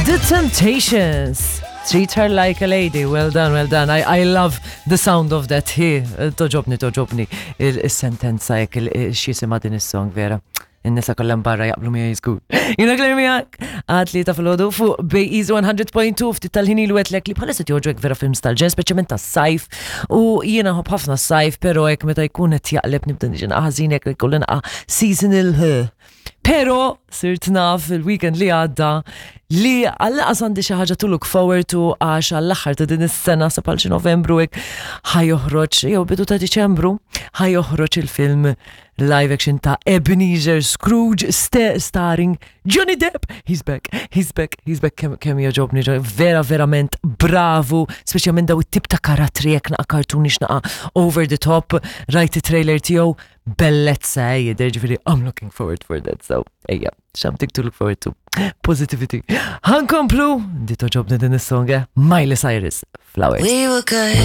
The Temptations. Treat her like a lady. Well done, well done. I, I love the sound of that. Hi, toġobni, toġobni. Il-sentenza jek il-xisima din is-song vera. In-nisa kollha barra jaqblu miegħi żgur. Jiena Claire miegħek għad li ta' filgħodu fuq Bay Easy 100.2 ftit tal-ħin ilu għedlek li bħalissa joġgħok vera films tal-ġen, speċjalment tas-sajf. U jiena nħobb ħafna s-sajf, però hekk meta jkun qed jaqleb nibda niġi naqa' ħażin hekk jkolli naqa' seasonal. Però sirt naf il-weekend li għadda li għall-qas għandi xi ħaġa to look forward to għax għall-aħħar ta' din is-sena sa bħal xi Novembru hekk ħa joħroġ jew bidu ta' Diċembru ħa joħroġ il-film live action ta' Ebenezer Scrooge starring Johnny Depp. He's back, he's back, he's back. Kemm kem jogħġobni, vera verament bravu, speċjalment daw it-tip ta' karattri jekk naqa' cartoonish naqa' over the top, rajt it-trailer tiegħu bellezza eh, jidher ġifieri I'm looking forward for that. So, ejja, something to look forward to. Positivity. Ħankomplu, di toġobni din is-song, eh? Miley Cyrus, Flowers. We were good.